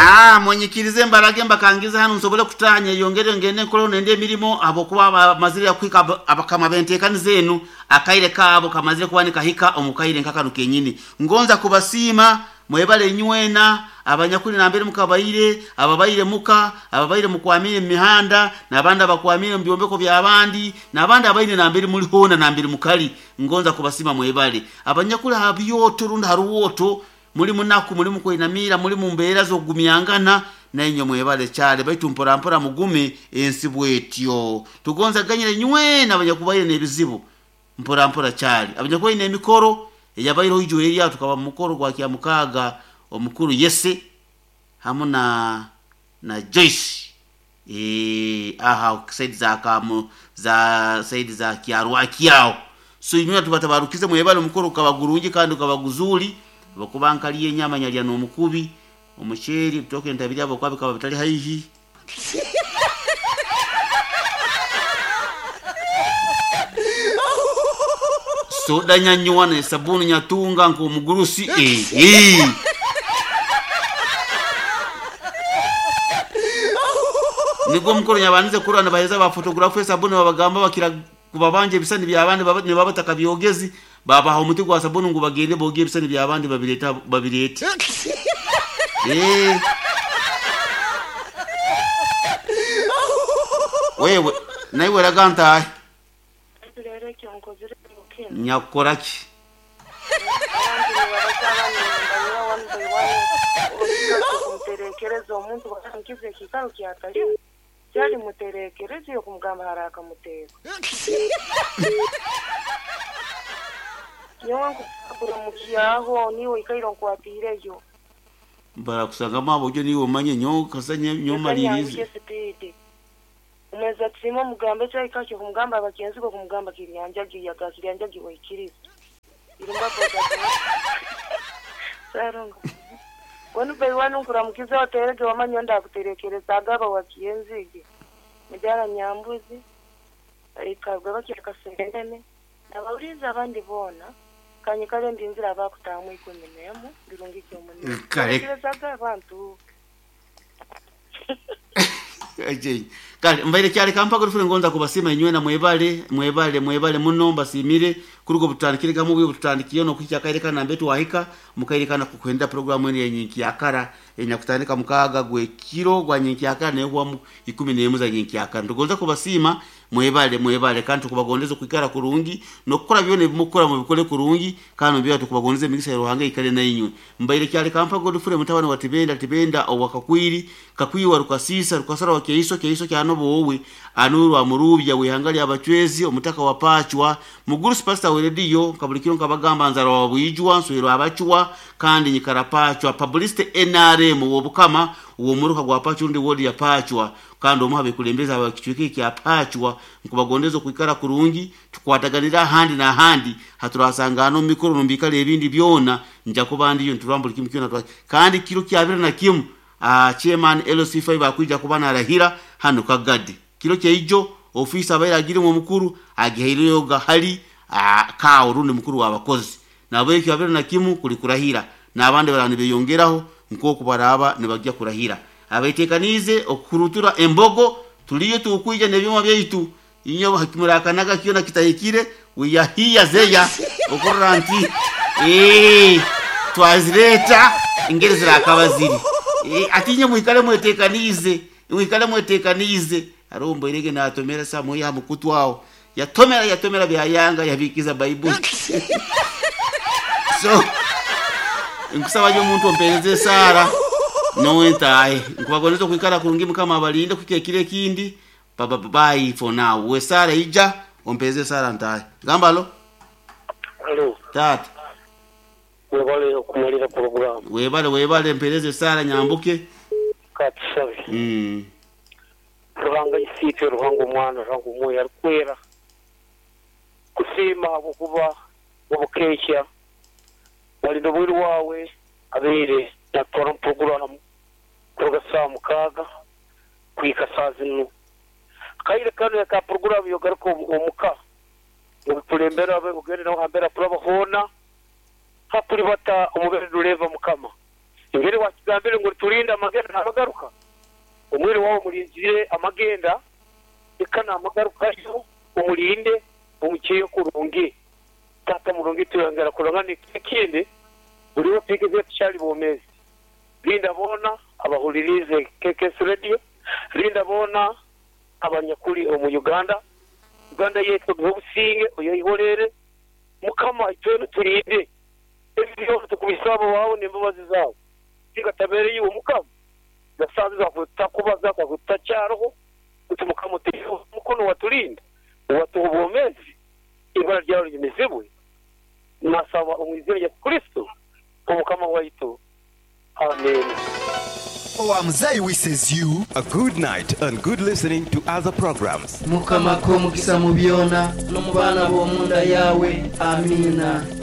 Ah, munyikirize mbarage mbakangize hanu nsobole kutanya yongere ngende nkole nende emirimo abokuba bamazire kuhika abakama bentekaniza enu akaire kaabo kamazire kuba nikahika omukaire nkakano kenyini. Ngonza kubasiima mwebale nywena abanyakuli nambere mukabaire, ababaire muka, ababaire mukwamire mu mihanda, n'abandi abakwamire mu byombeko by'abandi, n'abandi abaine nambere muli hoona nambere mukali. Ngonza kubasiima mwebale. Abanyakuli ha byoto rundi ha ruwoto muli munaku, muli mukwinamira, muli mu mbeera z'okugumyangana, nainywe mwebale kyale, baitu mpora mpora mugume ensi bwetyo. Tugonza ganyire nywena abanyakubaire n'ebizibu mpora mpora kyali. Abanyakubaire n'emikoro eyabaireho ijo erya tukaba mu mukoro gwa Kyamukaaga omukuru Yese hamu na Joyce aha side za Kamu, za side za Kyarwaki aho. So inywe tubatabarukize mwebale omukoro gukaba gurungi kandi gukaba guzuri, abakuba nkaliye enyama nyalya n'omukubi, omuceeri, ebitooke ntabirya habwokuba bikaba bitali haihi. Soda nyanywa na sabuni nyatunga nk'omugurusi. Nigwo omukoro nyabandize kurora nibaheza ba photographer esabuni babagamba bakira kubabanja ebisani by'abandi nibaba batakabyogezi, babaha omuti gwa sabuni ngu bagende boogye ebisani by'abandi babirete babirete. Wewe naiwe raga ntahe. Rero ekyo nkozire kinu. Nyakukora ki? Abantu nibabaza abana nibanywa one by one, okumuterekereza omuntu bakankiza ekiikaro kyatalimu. Kyali muterekereze okumugamba hari akamuteeka. Nyowe nkukuramukiaho niwe oikaire onkwatiireyo. Barakusangamu abo niwe omanye nyowe kasa nyowe malirize. Sipidi. Umweza tusima omugambe kyahika kyo kumugamba abakenzi bo kumugamba kiryanjagi yaga kiryanjagi waikiriza. Irumba boda. Sarunga. Wanu by one nkuramukiza oterege wamanya ndakuterekereza agaba wakienzige. Mujara nyambuzi ikabwa bakireka senene nabawuliza abandi bona kanye kale ndinzira abakutamu 11 birungi kyomunene. Kale. Terekerezaga abantu. Kale mbaire kyali kampa gurufune ngonza kubasima inywe na mwebale mwebale mwebale muno mbasimire kurugo butandikire gamu bwe butandikiye no kuhika kaire kana mbetu wahika mukaire kana kukwenda programu ene yenyinki yakara enyakutandika mukaga gwe kiro gwa nyinki yakara ne gwa 11 za nyinki yakara. Ndogonza kubasima mwebale mwebale kandi tukubagondeza kwikara kurungi nokukora byone bimukora mu bikole kurungi kandi byo tukubagondeza emigisa ya Ruhanga ikale na inywe. Mbaire kyali kampa gurufune mutabani wa Tibenda Tibenda owakakwiri kakwiwa rukasisa rukasara wa keiso keiso kyanobo wowe anuru wa murubya wihanga abachwezi omutaka wa pachwa mugurusi pastor werediyo kabulikiro nkabagamba nzara wa bwijwa nswero abachwa kandi nyikara pachwa publicity NRM wobukama uwo muruka gwa pachwa ndi wodi ya pachwa kandi omuha bekulembeza abakichweke kya pachwa nkubagondeza kwikara kurungi tukwataganira handi na handi haturasangano mikoro nombikale ebindi byona nja kubandi yo nturambula kimu kyona kandi kiro kyabira na kimu chairman LC5 akwija kuba narahira hano kagadi kiro kyeijo ofisa abaira agire mu mukuru agihaireyo gahali ka urundi mukuru wabakozi nabo ekyo abira na kimu kuli kurahira nabandi barani beyongeraho nkoko baraba nibajya kurahira abetekanize okurutura embogo tuliyo tukwija nebyuma byaitu inyo hakimurakanaga kiyo kitahikire wiyahiya zeya okurra nti twazireta ingeri zirakabaziri atinye mwikale mwetekanize mwikale mwetekanize arombo irege natomera samu ya mukutwao yatomera yatomera byayanga yabikiza Bible. So nkusaba yo muntu ompereze Sara nowe ntaye nkubagoneza kwikara kurungi mukama abalinde kukekire kindi baba bye for now. We Sara ija ompereze Sara ntaye gambalo. Hello tata webale okumalira program. Webale webale mpereze Sara nyambuke katusabe. Ruhanga isiitwe Ruhanga omwana Ruhanga omwoyo arikwera kusiima habwokuba obukekya walinda obwiru wawe abeire natwara mu kuruga saa 6 kuhika saa 4 kaire kanu yaka program yogaruka omuka obukulembera ogende naho hambera turaba hoona hakulibata omubere rureva mukama Engeri wakigambire ngu oliturinda amagenda n'amagaruka, omwiru wawe omulinzire amagenda eka n'amagarukayo omulinde omukyeyo kurungi. Taata murungi tweyongera kurora n'ekindi buri obu tuhikizire tukyali bomeezi. Linda boona abahuliriize KKS Radio, linda boona abanyakuli omu Uganda. Uganda yaitu ogihe obusinge, oyeihorere. Mukama itwena otulinde. Ebi byona tukubisaba wawe n'embabazi zawe. Singa tabeere iwe Mukama, gasanze twakubaza twakutakyaroho, baitu Mukama otaiheho omukono watulinda, watuha obwomezi, ibara lyawe linyumizibwe. Nasaba omu izina lya Yesu Kristo Omukama waitu. Amiina. Owa Muzei wishes you. A good night and good listening to other programs. Mukama akuhe omugisa mu byona, n'omu baana b'omu nda yaawe. Amiina.